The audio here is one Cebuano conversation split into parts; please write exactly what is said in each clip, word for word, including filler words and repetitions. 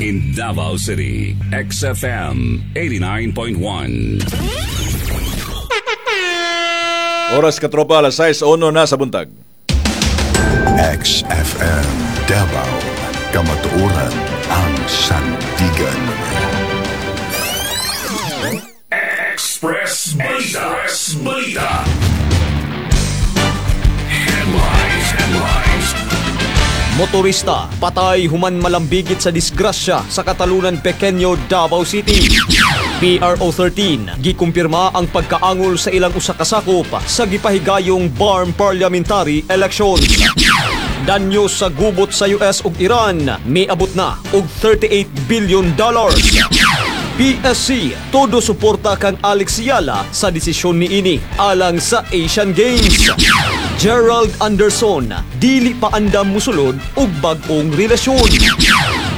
In Davao City, X F M eighty-nine point one. Oras, katropa, alas sais uno na sa buntag. X F M Davao, Kamatuoran ang sandigan. Express Balita. Express Balita. Headlines. Headlines. Motorista patay human malambigit sa disgrasya sa Catalunan Pequeño, Davao City. P R O thirteen gikumpirma ang pagkaangol sa ilang usa ka sakop sa gipahigayong B A R M parliamentary elections. Danyo sa gubot sa U S ug Iran miabot na og thirty-eight billion dollars. P S C todo suporta kang Alex Eala sa desisyon niini alang sa Asian Games. Gerald Anderson dili pa andam musulod og bag-ong relasyon.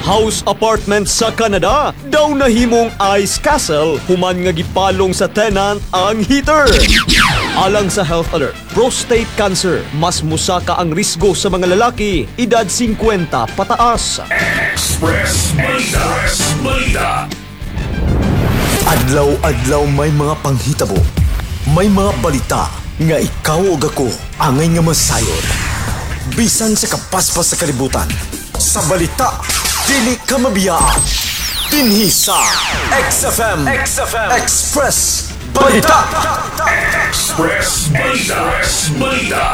House apartment sa Canada daw nahimong ice castle human nga gipalong sa tenant ang heater. Alang sa health alert, prostate cancer, mas musaka ang risgo sa mga lalaki edad singkwenta pataas. Express Balita. Express Balita. Adlaw-adlaw may mga panghitabo. May mga balita nga ikaw ug ako angay nga masayod. Bisan sa kapaspas sa kalibutan. Sa balita, dili ka mabiyaan. Dinhi sa X F M, X F M Express Balita. Express Balita. Express Balita.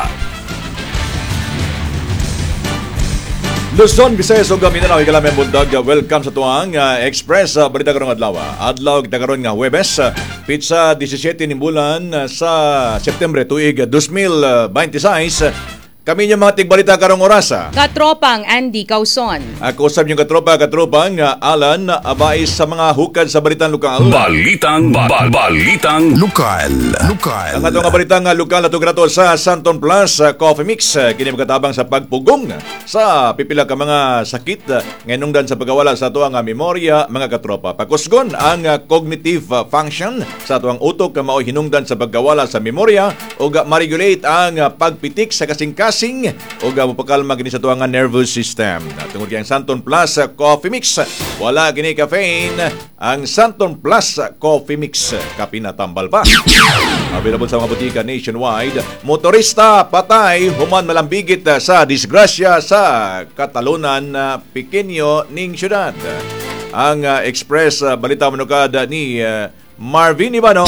Luzon, Visayas ug Mindanao, higalaming buntag. Welcome sa tuang uh, Express uh, Balita karong adlaw. Adlaw kita karon nga Huwebes, uh, petsa disisiete ni bulan uh, sa Setyembre tuig dalawang libo bente sais. Kami niyo mga tigbalita karong orasa. Katropang Andy Causon. Ako usab yung katropa, katropang uh, Alan Abais sa mga hukad sa balitang lokal. Balitang ba, balitang Lokal. Lokal. Ang atong nga balitang uh, lokal ato grato sa Santon Plus uh, Coffee Mix uh, kini makatabang sa pagpugong sa pipila ka mga sakit uh, nganungdan sa pagkawala sa ato ang uh, memorya, mga katropa. Pakusgon ang uh, cognitive uh, function sa ato ang utok nga mao'y hinungdan sa pagkawala sa memorya ug uh, ma-regulate ang uh, pagpitik sa kasing-kasing ug uh, mopakalma kini sa ato ang nervous system. Tungod kay ang Santon Plus uh, Coffee Mix wala kini caffeine, ang Santon Plus uh, Coffee Mix, kape na tambal pa. Available sa mga botika nationwide. Motorista patay human malambigit uh, sa disgrasya sa Catalunan uh, Pequeño ning syudad. Ang uh, Express uh, Balita manukad ni uh, Marvin Ibano.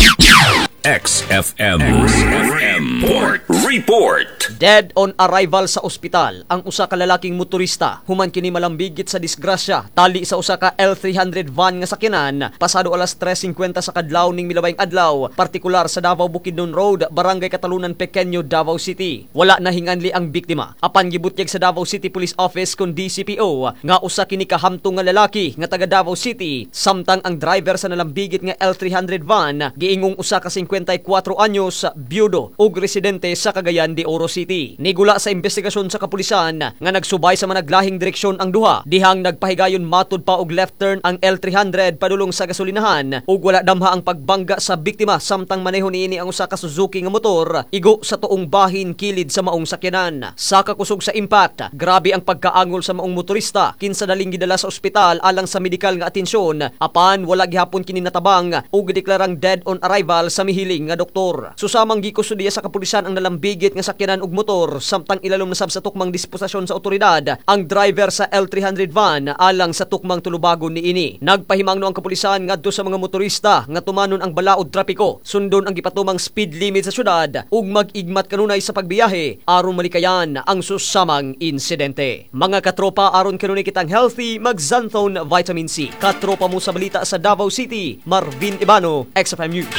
X F M. X F M Report. Report. Dead on arrival sa ospital ang usa ka lalaking motorista human kini malambigit sa disgrasya tali sa usa ka L three hundred van nga sakyanan pasado alas tres singkwenta sa kadlaw ning milabayng adlaw, partikular sa Davao Bukidnon Road, Barangay Catalunan Pequeño, Davao City. Wala na hinganli ang biktima apan gibutyag sa Davao City Police Office kon D C P O nga usa kini kahamtong nga lalaki nga taga Davao City, samtang ang driver sa nalambigit nga L three hundred van giingong usa ka singkwenta y kwatro anyos, byudo ug residente sa Cagayan de Oro City. Nigula sa investigasyon sa kapulisan nga nagsubay sa managlahing direksyon ang duha dihang nagpahigayon matud pa og left turn ang L three hundred padulong sa gasolinahan ug wala damha ang pagbangga sa biktima samtang maneho niini ang usa ka Suzuki nga motor igo sa tuong bahin kilid sa maong sakyanan. Sa kakusog sa impact, grabe ang pagkaangol sa maong motorista kinsa daling gidala sa ospital alang sa medikal nga atensyon, apan wala gihapon kini natabang ug gideklarang dead on arrival sa mihiling nga doktor. Susamang gikustudiya sa kapulisan ang nalambigit nga sakyanan ug motor samtang ilalom na sab sa tukmang disposisyon sa otoridad ang driver sa L three hundred van alang sa tukmang tulubagon niini. Nagpahimangno ang kapulisan ngadto sa mga motorista nga tumanon ang balaod trapiko, sundon ang gipatumang speed limit sa syudad ug mag-igmat kanunay sa pagbiyahe aron malikayan ang susamang insidente. Mga katropa, aron kanunay kitang healthy, mag-Xanthone Vitamin C. Katropa mo sa balita sa Davao City, Marvin Ibano, X F M News.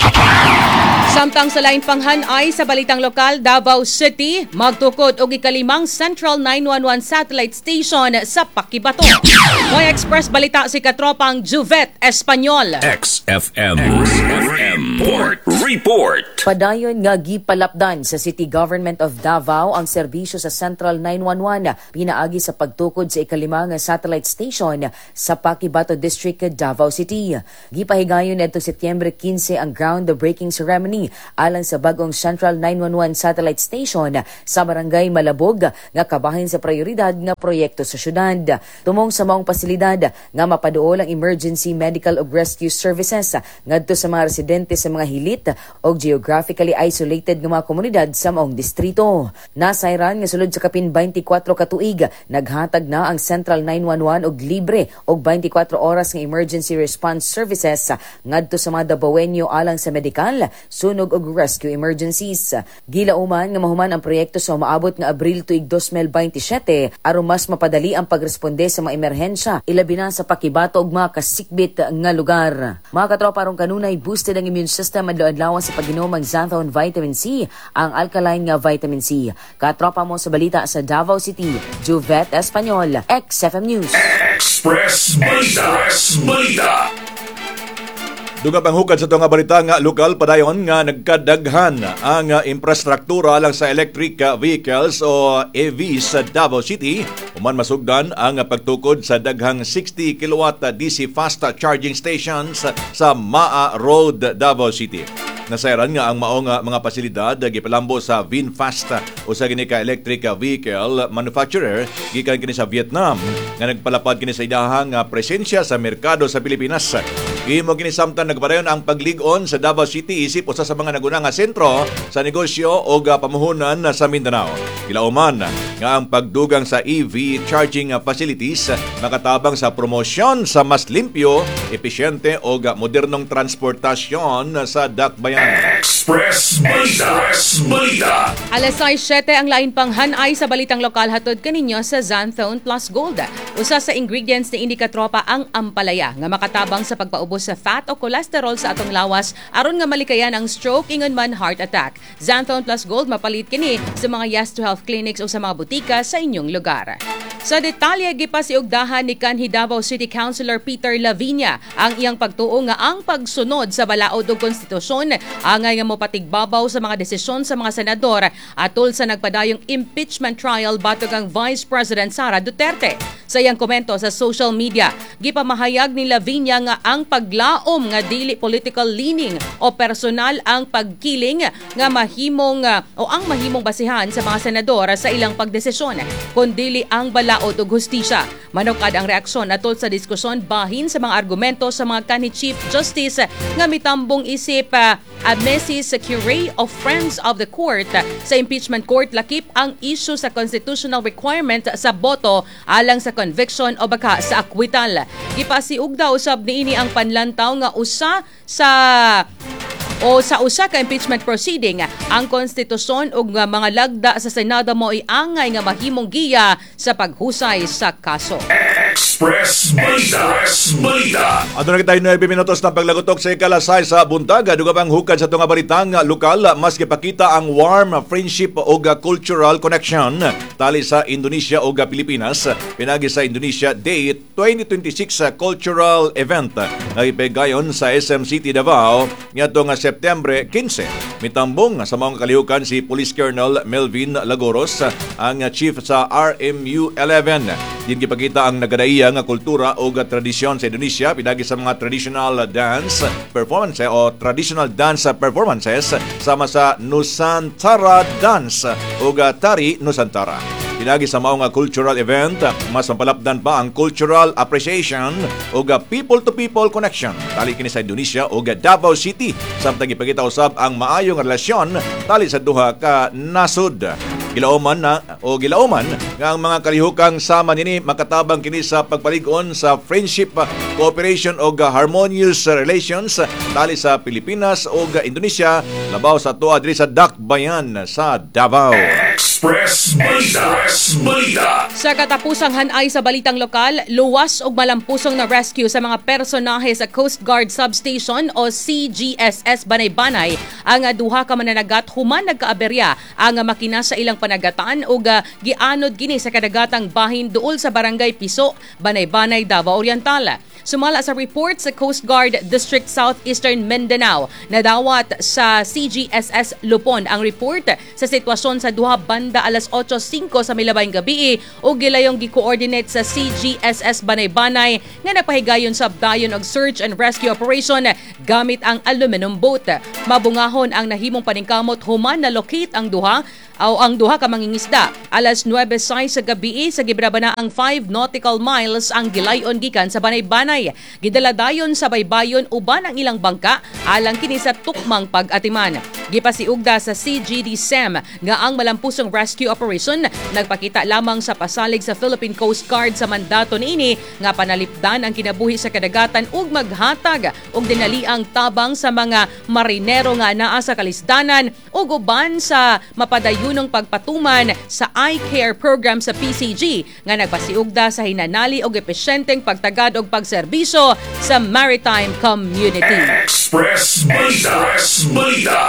Samtang sa lain pang hanay sa balitang lokal, Davao City magtukod og ikalimang Central nine one one satellite station sa Paquibato. May Express Balita si katropang Juvet Espanyol. X F M. X F M. Report. Report. Padayon nga gipalapdan sa City Government of Davao ang serbisyo sa Central nine one one pinaagi sa pagtukod sa ikalima nga satellite station sa Paquibato District, Davao City. Gipahigayon ngadtong Setyembre kinse ang groundbreaking ceremony alang sa bagong Central nine one one satellite station sa Barangay Malabog nga kabahin sa prioridad nga proyekto sa syudad. Tumong sa maong pasilidad nga mapaduol ang emergency medical ug rescue services ngadto sa mga residente sa mga hilit o geographically isolated nga mga komunidad sa maong distrito. Nasayran nga sulod sa kapin twenty-four ka tuig, naghatag na ang Central nine one one og libre og twenty-four oras nga emergency response services ngadto sa mga Dabawenyo alang sa medikal, sunog ug rescue emergencies. Gilauman nga mahuman ang proyekto sa umaabot nga Abril tuig twenty twenty-seven aron mas mapadali ang pagresponde sa mga emerhensya, ilabi na sa Paquibato ug mga kasikbit nga lugar. Mga katropa, aron kanunay boosted ang immune system, adlaw-adlaw sa pag-inom ang Xanthone Vitamin C, ang alkaline nga vitamin C. Katropa mo sa balita sa Davao City, Juvet Espanyol, X F M News. Express Balita. Express Balita. Duga pang hukad sa nga balita nga lokal, padayon nga nagkadaghan ang uh, infrastruktura lang sa electric uh, vehicles o E Vs sa Davao City human masugdan ang pagtukod sa daghang sixty kilowatt D C fast charging stations sa Maa Road, Davao City. Nasayran nga ang maong uh, mga pasilidad gipalambo sa VinFast, usa kini ka electric vehicle manufacturer gikan kini sa Vietnam nga nagpalapad kini sa idahang uh, presensya sa merkado sa Pilipinas. Gihimo kini samtang nagpadayon ang paglig-on sa Davao City isip usa sa mga naguna nga sentro sa negosyo o pamuhunan sa Mindanao. Gilauman nga ang pagdugang sa E V charging facilities makatabang sa promosyon sa mas limpyo, episyente o modernong transportasyon sa dakbayan. Express Balita. Express Balita. Alas sais siyete, ang lain pang hanay sa balitang lokal hatod kaninyo sa Xanthone Plus Gold. Usa sa ingredients ni ini, katropa, ang ampalaya nga makatabang sa pagpaubos sa fat o cholesterol sa atong lawas aron nga malikayan ang stroke ingon man heart attack. Xanthone Plus Gold, mapalit kini sa mga Yes to Health clinics o sa mga butika sa inyong lugar. Sa detalye, gipasiugdahan ni kanhi Davao City Councilor Peter Lavinia ang iyang pagtuo nga ang pagsunod sa balaod ug konstitusyon angay nga mopatigbabaw sa mga desisyon sa mga senador atol sa nagpadayong impeachment trial batok ang Vice President Sara Duterte. Sa iyang komento sa social media, gipamahayag ni Lavinia nga ang paglaom nga dili political leaning o personal ang pagkiling nga mahimong o ang mahimong basihan sa mga senador sa ilang pagdesisyon, kundili ang balaod ug hustisya. Manukad ang reaksyon atol sa diskusyon bahin sa mga argumento sa mga kanhi Chief Justice nga mitambong isip uh, amicus curiae of Friends of the Court sa impeachment court, lakip ang issue sa constitutional requirement sa boto alang sa conviction o baka sa acquittal. Gipasiugda usab niini ang panlantaw nga usa sa o sa usa ka impeachment proceeding, ang konstitusyon ug nga mga lagda sa Senado mo angay nga mahimong giya sa paghusay sa kaso. Express Balita. Express Balita. Aduna kita nuwebe minutos na paglagutok sa ikalas sais sa buntag. Duga pang hukad sa tunga balitang lokal, mas gipakita ang warm friendship ug cultural connection tali sa Indonesia ug Pilipinas pinagi sa Indonesia Day twenty twenty-six cultural event nga gipegayon sa S M City Davao ngadto nga Septembre kinse. Mitambong sa mga kalihukan si Police Colonel Melvin Lagoros, ang chief sa R M U eleven. Din gipakita ang nagadaiya nga kultura o tradisyon sa Indonesia pinagi sa mga traditional dance performance o traditional dance performances sama sa Nusantara Dance o Tari Nusantara. Pinagi sa mao nga cultural event, mas mapalapdan pa ang cultural appreciation o people-to-people connection tali kini sa Indonesia o Davao City, samtang gipakita usab ang maayong relasyon tali sa duha ka nasod. Gilauman na o gilauman nga ang mga kalihukang sama nini makatabang kini sa pagpalig-on sa friendship, cooperation og harmonious relations tali sa Pilipinas ug Indonesia, labaw sa tuwa diri sa Dakbayan sa Davao. Express Balita. Express Balita. Sa katapusang hanay sa balitang lokal, luwas og malampusong na rescue sa mga personahe sa Coast Guard Substation o C G S S Banay-Banay ang duha ka mananagat human nagkaaberya ang makina sa ilang panagatan ug ah, gianod kini sa kadagatang bahin duol sa Barangay Piso, Banay-Banay, Davao Oriental. Sumala sa report sa Coast Guard District Southeastern Mindanao, nadawat sa C G S S Lupon ang report sa sitwasyon sa duha banda alas otso singko sa milabayng gabi ug gilayong gi-coordinate sa C G S S Banay-Banay nga nagpahigayon sa dayon og search and rescue operation gamit ang aluminum boat. Mabungahon ang nahimong paningkamot human na locate ang duha o ang duha ka mangingisda. Alas nuwebe sais sa gabi sa gibrabana ang five nautical miles ang gilayon gikan sa Banay-Banay. Gidala dayon sa baybayon uban ang ilang bangka alang kini sa tukmang pag-atiman. Gipasiugda sa C G D S E M nga ang malampusong rescue operation nagpakita lamang sa pasalig sa Philippine Coast Guard sa mandato niini nga panalipdan ang kinabuhi sa kadagatan ug maghatag og dinaliang tabang sa mga marinero nga naa sa kalisdanan ug uban sa mapadayunong pagpatuman sa iCare program sa P C G nga nagpasiugda sa hinanali og epesyenteng pagtagad og pagserbisyo sa maritime community. Express Balita. Express Balita.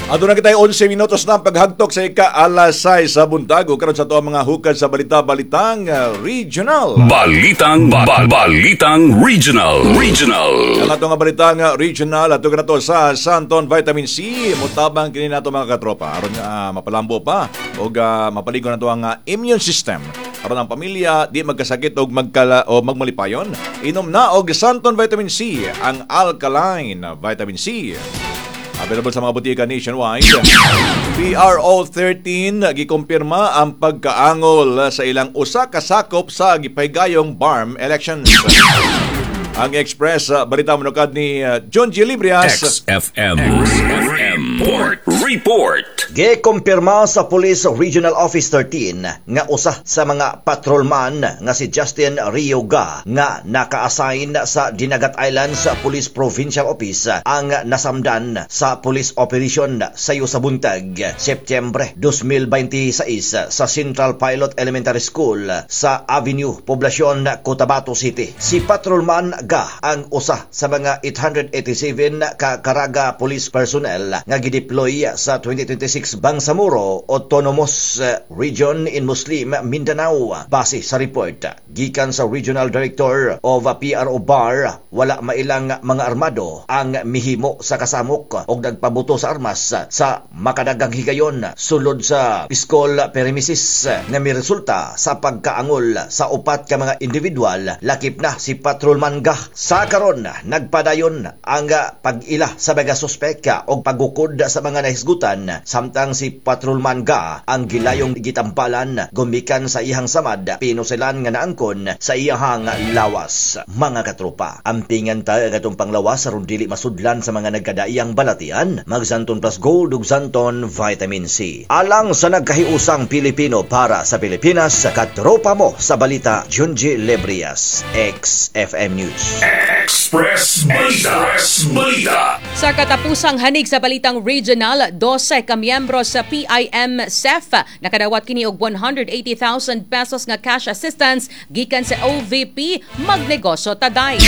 Aduna kita onse minutos na ang paghagtok sa ika alas sais sa buntag ug karon sa ato ang mga hukad sa balita, balitang uh, regional. Balitang ba, Balitang Regional. Regional. Ang atong nga balitang uh, regional ato nato sa Santon Vitamin C, mutabang kini nato, mga katropa, aron uh, mapalambo pa ug uh, mapaligon nato ang uh, immune system. Aron ang pamilya di magkasakit og magkala o magmalipayon, inom na og Santon Vitamin C, ang alkaline vitamin C. Available sa mga botika nationwide. P R O thirteen gikumpirma ang pagkaangol sa ilang usa ka sakop sa gipahigayong B A R M elections. Ang Express uh, Balita manukad ni uh, John G. Librias. X F M. X F M. Report. Report. Gikumpirma sa Police Regional Office thirteen nga usa sa mga patrolman nga si Justin Rioga nga naka-assign sa Dinagat Islands Police Provincial Office ang nasamdan sa police operation sayo sa buntag, Setyembre twenty twenty-six, sa Central Pilot Elementary School sa Avenue Poblacion, Cotabato City. Si patrolman Ga ang usa sa mga eight hundred eighty-seven ka Caraga police personnel nga gideploy sa twenty twenty-six Bangsamoro Autonomous Region in Muslim Mindanao. Base sa report gikan sa Regional Director of P R O B A R, wala mailang mga armado ang mihimo sa kasamok og nagpabuto sa armas sa makadagang higayon sulod sa school premises nga miresulta sa pagkaangol sa upat ka mga individual, lakip na si patrolman Ga. Sa karon, nagpadayon ang pag-ila sa mga suspek og pagukod sa mga nahisgutan, samtang si patrolman Ga ang gilayong gitampalan gumikan sa iyang samad, pinusilan nga naangkon sa iyahang lawas. Mga katropa, ampingan ta ang atong panglawas aron dili masudlan sa mga nagkadaiyang balatian. Mag Xanthone Plus Gold ug Xanthone Vitamin C. Alang sa nagkahiusang Pilipino, para sa Pilipinas, katropa mo sa balita, Junji Lebrias, X F M News. Express Balita. Express Balita. Sa katapusang hanig sa balitang regional, dose ka miyembro sa P I M S E F nakadawat kini og one hundred eighty thousand pesos nga cash assistance gikan sa O V P Magnegosyo Taday.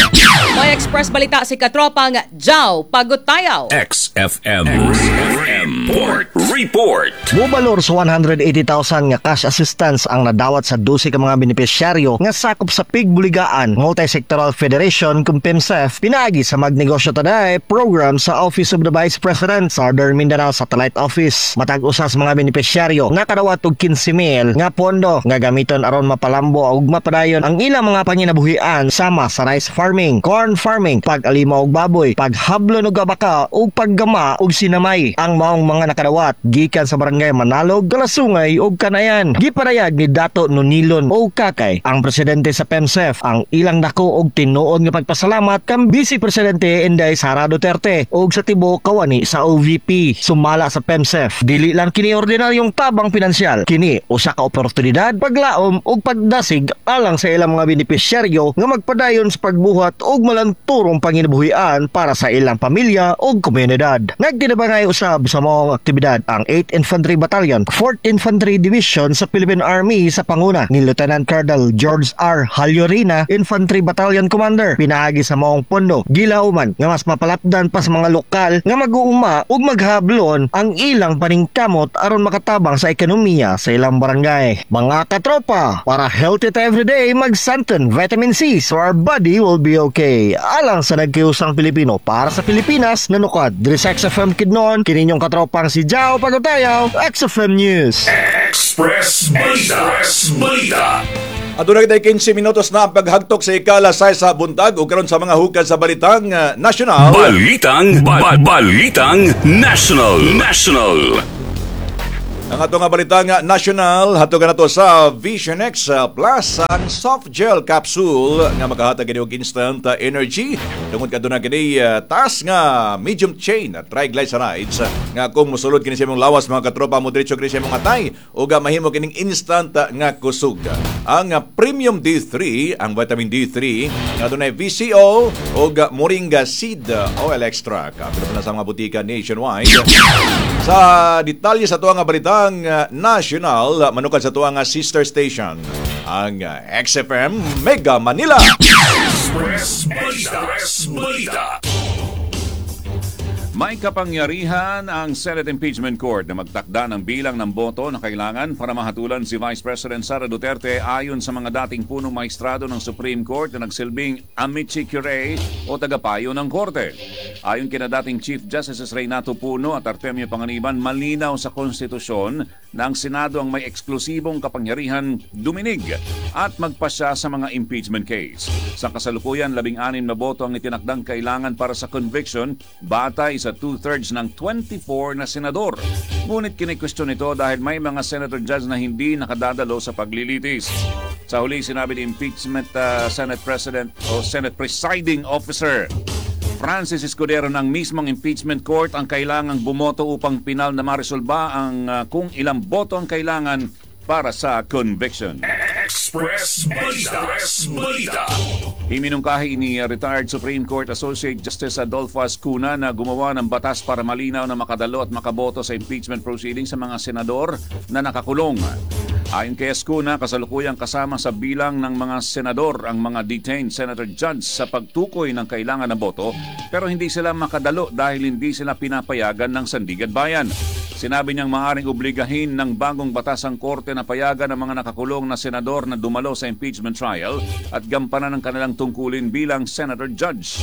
May Express Balita si katropang Jow Pagutayaw. X F M. X F M. Report. Report. Mubalor sa one hundred eighty thousand nga cash assistance ang nadawat sa dose ka mga benepisyaryo nga sakop sa Pigbuligaan Multi-Sectoral Federation kung PIMSEF pinaagi sa Magnegosyo Taday program sa Office of the Vice President Southern Mindanao Satellite Office. Matag usa sa mga benepisyaryo nakadawat og kinse mil nga pondo nga gamiton aron mapalambo ug mapadayon ang ilang mga panginabuhian sama sa rice farming, corn farming, pag-alima og baboy, paghablon og abaka ug paggama og sinamay. Ang maong mga nakadawat gikan sa barangay Manalog, Kalasungay ug Kanayan. Gipadayag ni Dato Nonilon o Kakay, ang presidente sa PEMSEF, ang ilang dako og tinuod nga pagpasalamat kang Vice Presidente Inday Sara Duterte ug sa tibuok kawani sa O V P. Sumala sa PEMSEF, dili lang kini ordinaryong tabang pinansyal, kini usa ka oportunidad, paglaom ug pagdasig alang sa ilang mga benepisyaryo nga magpadayon sa pagbuhat og malanturong panginabuhian para sa ilang pamilya ug komunidad. Nagtinabangay usab sa maong aktibidad ang eighth Infantry Battalion, fourth Infantry Division sa Philippine Army sa panguna ni Lieutenant Colonel George R. Hallorina, Infantry Battalion Commander. Pinaagi sa maong pondo, gilauman nga mas mapalapdan pa sa mga lokal nga mag-uuma ug maghablon ang ilang paningkamot aron makatabang sa ekonomiya sa ilang barangay. Mga katropa, para healthy ta everyday, mag-Xanthone Vitamin C so our body will be okay. Alang sa nagkiusang Pilipino para sa Pilipinas, nanukad diri sa X F M Kidnon, kini inyong katropang si Jao Pagutayaw, X F M News. Express Balita. Express Balita. Aduna kitay kinse minutos na ang paghagtok sa ikalas sais sa buntag ug karon sa mga hukad sa balitang uh, national. Balitang ba- Balitang National. National. Ang ato nga balitang uh, national hatog nato sa Vision X uh, Plus, ang soft gel capsule nga makahatag kini og instant uh, energy tungod kaduna kini uh, taas nga medium chain triglycerides uh, nga kung mosulod kini sa imong lawas, mga katropa, mo diretso kini sa imong atay ug uh, mahimo kining instant uh, nga kusog. Ang uh, premium D three, ang vitamin D three nga adunay V C O ug uh, moringa seed uh, oil extract. Pero na sa mga butika nationwide. Sa detalye sa tuang nga balitang uh, national, uh, manukad sa tuang nga sister station, ang uh, X F M Mega Manila. Express Balita. Express Balita. May kapangyarihan ang Senate Impeachment Court na magtakda ng bilang ng boto na kailangan para mahatulan si Vice President Sara Duterte, ayon sa mga dating punong mahistrado ng Supreme Court na nagsilbing amici curiae o tagapayo ng korte. Ayon kina dating Chief Justices Reynato Puno at Artemio Panganiban, malinaw sa konstitusyon na ang Senado ang may eksklusibong kapangyarihan duminig at magpasya sa mga impeachment case. Sa kasalukuyan, labing-anim na boto ang itinakdang kailangan para sa conviction batay sa two-thirds ng twenty-four na senador. Ngunit kinikwestiyon ito dahil may mga senator judge na hindi nakadadalo sa paglilitis. Sa huli, sinabi ni impeachment uh, Senate President o Senate Presiding Officer Francis Escudero ng mismong impeachment court ang kailangang bumoto upang pinal na maresolba ang uh, kung ilang boto ang kailangan para sa conviction. Express Balita. Express Balita. Iminungkahi ni retired Supreme Court Associate Justice Adolfo Azcuna na gumawa ng batas para malinaw na makadalo at makaboto sa impeachment proceedings sa mga senador na nakakulong. Ayon kay Azcuna, kasalukuyang kasama sa bilang ng mga senador ang mga detained senator judge sa pagtukoy ng kailangan na boto, pero hindi sila makadalo dahil hindi sila pinapayagan ng Sandiganbayan. Sinabi niyang maaring obligahin ng bagong batas ang korte na payagan ang mga nakakulong na senador na dumalo sa impeachment trial at gampanan ang kanilang tungkulin bilang senator judge.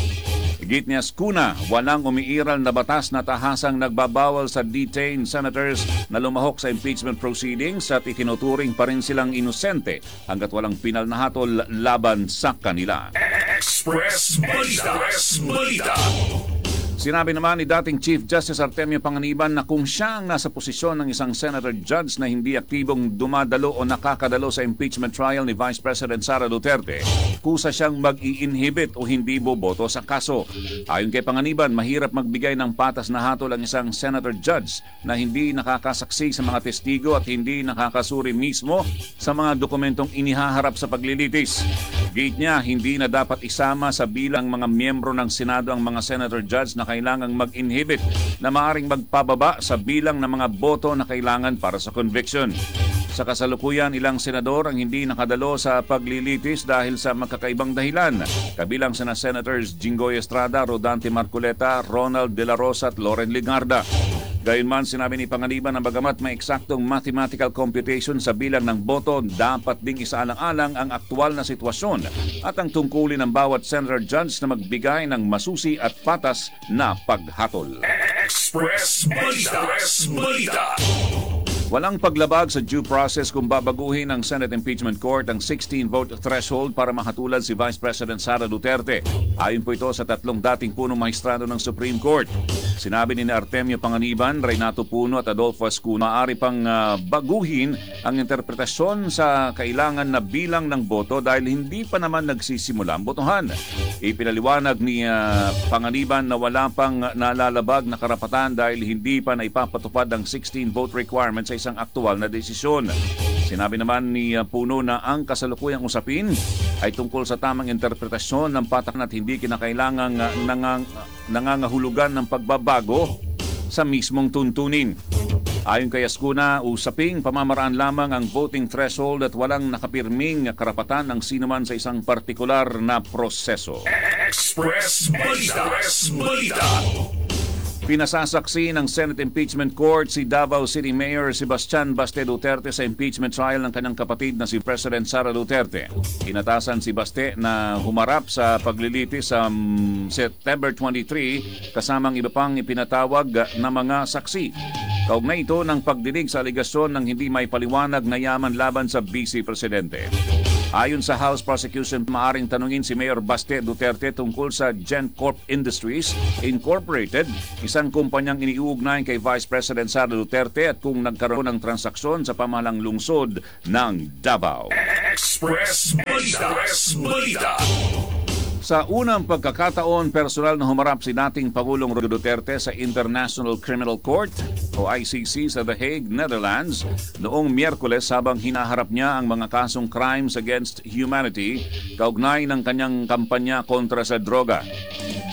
Higit ni Azcuna, walang umiiral na batas na tahasang nagbabawal sa detained senators na lumahok sa impeachment proceedings at itinuturing pa rin silang inosente hanggat walang pinal na hatol laban sa kanila. Express Balita. Express Balita. Sinabi naman ni dating Chief Justice Artemio Panganiban na kung siya ang nasa posisyon ng isang senator judge na hindi aktibong dumadalo o nakakadalo sa impeachment trial ni Vice President Sara Duterte, kusa siyang mag-i-inhibit o hindi boboto sa kaso. Ayon kay Panganiban, mahirap magbigay ng patas na hatol ang isang senator judge na hindi nakakasaksi sa mga testigo at hindi nakakasuri mismo sa mga dokumentong inihaharap sa paglilitis. Giit niya, hindi na dapat isama sa bilang mga miyembro ng Senado ang mga senator judge na kailangang mag-inhibit na maaring magpababa sa bilang ng mga boto na kailangan para sa conviction. Sa kasalukuyan, ilang senador ang hindi nakadalo sa paglilitis dahil sa magkakaibang dahilan. Kabilang sina Senators Jinggoy Estrada, Rodante Marcoleta, Ronald De La Rosa at Loren Legarda. Gayunman, sinabi ni Panganiban na bagamat may eksaktong mathematical computation sa bilang ng boto, dapat ding isaalang-alang ang aktual na sitwasyon at ang tungkulin ng bawat senator judge na magbigay ng masusi at patas na paghatol. Express Balita. Express Balita. Walang paglabag sa due process kung babaguhin ng Senate Impeachment Court ang sixteen-vote threshold para mahatulan si Vice President Sara Duterte. Ayon po ito sa tatlong dating punong mahistrado ng Supreme Court. Sinabi ni Artemio Panganiban, Reynato Puno at Adolfo Azcuna, maaari pang ah, baguhin ang interpretasyon sa kailangan na bilang ng boto dahil hindi pa naman nagsisimula ang botohan. Ipinaliwanag ni ah, Panganiban na wala pang nalalabag na karapatan dahil hindi pa naipapatupad ang sixteen-vote requirement sa isang aktual na desisyon. Sinabi naman ni uh, Puno na ang kasalukuyang usapin ay tungkol sa tamang interpretasyon ng patakaran at hindi kinakailangang uh, nangang, nangangahulugan ng pagbabago sa sa mismong tuntunin. Ayon kay Azcuna, usaping pamamaraan lamang ang voting threshold at walang nakapirming karapatan ng sinuman sa isang partikular na proseso. Express Balita. Express Balita. Pinasasaksi ng Senate Impeachment Court si Davao City Mayor Sebastian Baste Duterte sa impeachment trial ng kanyang kapatid na si President Sara Duterte. Inatasan si Baste na humarap sa paglilitis sa mm, September twenty-three kasamang iba pang ipinatawag na mga saksi. Kaugnay ito ng pagdinig sa alegasyon ng hindi maipaliwanag na yaman laban sa Vice Presidente. Ayon sa House Prosecution, maaring tanungin si Mayor Baste Duterte tungkol sa GenCorp Industries Incorporated, isang kumpanyang iniuugnay kay Vice President Sara Duterte, at kung nagkaroon ng transaksyon sa pamahalaang lungsod ng Davao. Express Balita. Express Balita. Sa unang pagkakataon, personal na humarap si dating Pangulong Rodrigo Duterte sa International Criminal Court o I C C sa The Hague, Netherlands, noong Miyerkules habang hinaharap niya ang mga kasong crimes against humanity kaugnay ng kanyang kampanya kontra sa droga.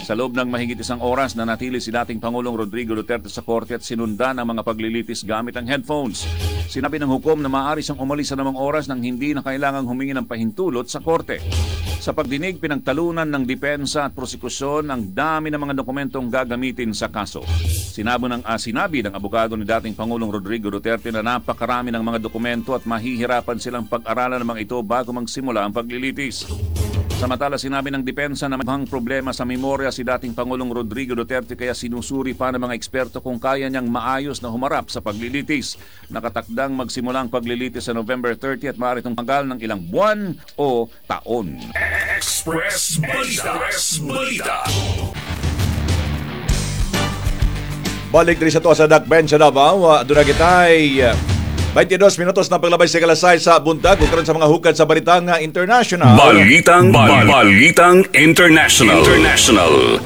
Sa loob ng mahigit isang oras, nanatili si dating Pangulong Rodrigo Duterte sa korte at sinundan ang mga paglilitis gamit ang headphones. Sinabi ng hukom na maaari siyang umalis sa anumang oras nang hindi na kailangang humingi ng pahintulot sa korte. Sa pagdinig, pinagtalunan ng depensa at prosekusyon ang dami ng mga dokumentong gagamitin sa kaso. Sinabi ng, ah, sinabi ng abogado ni dating Pangulong Rodrigo Duterte na napakarami ng mga dokumento at mahihirapan silang pag-aralan ng mga ito bago magsimula ang paglilitis. Samantala, sinabi ng depensa na may problema sa memorya si dating Pangulong Rodrigo Duterte kaya sinusuri pa ng mga eksperto kung kaya niyang maayos na humarap sa paglilitis. Nakatakdang magsimula ang paglilitis sa November thirty at maaari itong tumagal ng ilang buwan o taon. Express Balita. Express Balita. Balik diri sa to sa Dakben sa Davao. Uh, Doon na kita'y uh, twenty-two minutos na paglabay sa ikalas sais sa buntag. Ug karon sa mga hukad sa balitang uh, international. Balitang bal- Balitang International. International.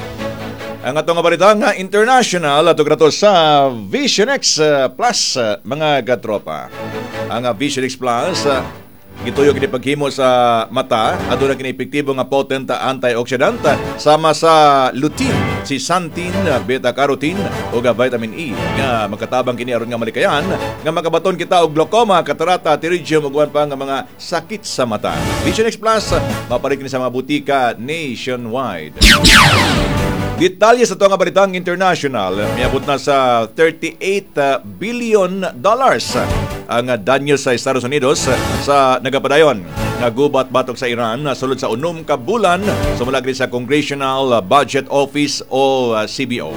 Ang atong nga balitang uh, international ato grato sa Vision X uh, Plus uh, mga katropa. Ang uh, Vision X Plus uh, gituyo kini paghimo sa mata, aduna kini epektibo nga potent antioxidant sama sa lutein, zeaxanthin, beta carotene ug vitamin E nga makatabang kini aron nga malikayan nga makabaton kita og glaucoma, katarata, pterygium ug uban pa nga mga sakit sa mata. Vision X Plus mapalit kini sa mga butika nationwide. Detalye sa ito nga balitang international, miabot na sa thirty-eight billion dollars ang danyo sa Estados Unidos sa nagapadayon nga gubat batok sa Iran sulod sa unom ka bulan, sumala sa Congressional Budget Office o C B O.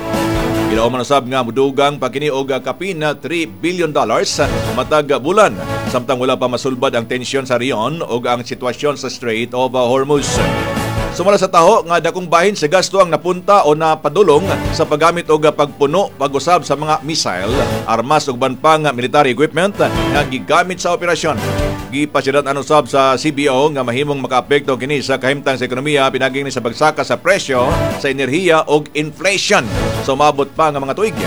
Gilauman usab nga mudugang pa kini og kapin na three billion dollars matag bulan samtang wala pa masulbad ang tensyon sa rehiyon ug ang sitwasyon sa Strait of Hormuz. Sumala sa taho nga dakong bahin sa gasto ang napunta o napadulong sa paggamit og pagpuno pag-usab sa mga missile, armas ug uban pang military equipment nga gigamit sa operasyon. Gipasirat-an usab sa C B O nga mahimong makaapekto kini sa kahimtang sa ekonomiya pinagi ni sa pagsaka sa presyo sa enerhiya ug inflation sa umabot pa nga mga tuig.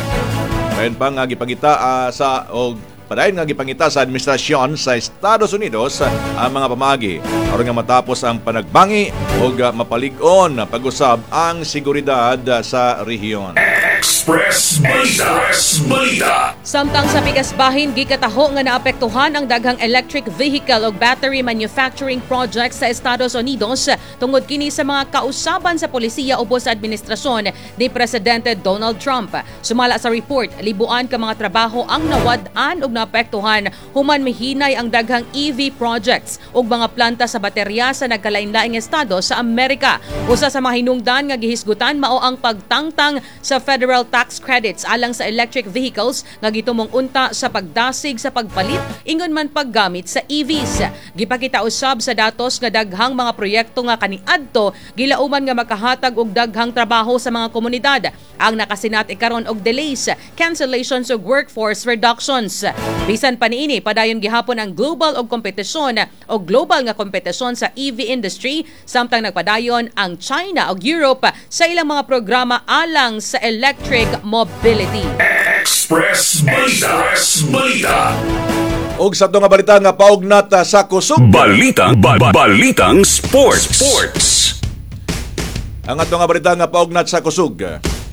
Dayon pa nga gipangita ah, sa og padayon nga gipangita sa administrasyon sa Estados Unidos ang mga pamagi aron nga matapos ang panagbangi ug ah, mapalig-on pag-usab ang seguridad sa rehiyon. Express Balita. Express Balita. Samtang sa pikas bahin, gikataho nga naapektuhan ang daghang electric vehicle ug battery manufacturing projects sa Estados Unidos tungod kini sa mga kausaban sa polisiya ubos sa administrasyon ni Presidente Donald Trump. Sumala sa report, libuan ka mga trabaho ang nawad-an ug naapektuhan human mihinay ang daghang E V projects ug mga planta sa baterya sa nagkalain-laing estado sa Amerika. Usa sa mga hinungdan nga gihisgutan mao ang pagtangtang sa federal tax credits alang sa electric vehicles nga gitumong unta sa pagdasig sa pagpalit ingon man paggamit sa E Vs. Gipakita usab sa datos nga daghang mga proyekto nga kaniadto gilauman nga makahatag og daghang trabaho sa mga komunidad ang nakasinati karon og delays, cancellations ug workforce reductions. Bisan pa niini, padayon gihapon ang global og kompetisyon o global nga kompetisyon sa E V industry samtang nagpadayon ang China ug Europe sa ilang mga programa alang sa electric mobility. Express Balita. Express Balita. Ug sa nga balita nga paugnat ah, sa kusog. Balitang ba- Balitang Sports. Sports. Ang ato nga balita nga paugnat sa kusog.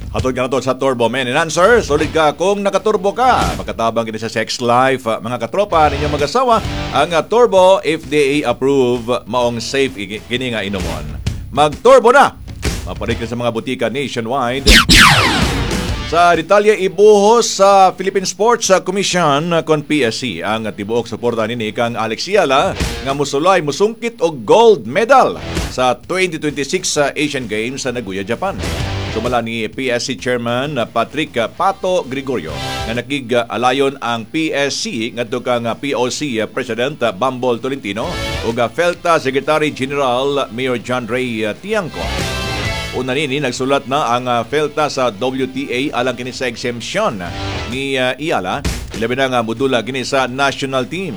Hatod ka na to sa Turbo Man Enhancer. Solid ka kung nakaturbo ka. Makatabang kini sa sex life. Mga katropa ninyong mag-asawa, ang Turbo F D A approve, maong safe kini nga inumon. Mag-turbo na! Maparik sa mga butika nationwide. Sa detalye, ibuhos sa Philippine Sports Commission kon P S C ang tibuok suporta nini kang Alex Eala nga musulay, musungkit og gold medal sa twenty twenty-six sa Asian Games sa Nagoya, Japan. Sumala ni P S C Chairman Patrick Pato Gregorio nga nakig-alayon ang P S C ngadto kang P O C President Bambol Tolentino ug Felta Secretary General Mayor John Ray Tiangco. Una nini, nagsulat na ang Felta sa W T A alang kini sa exemption ni Eala, ilabi na nga modula kini sa national team.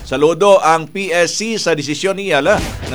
Saludo ang P S C sa desisyon ni Eala nga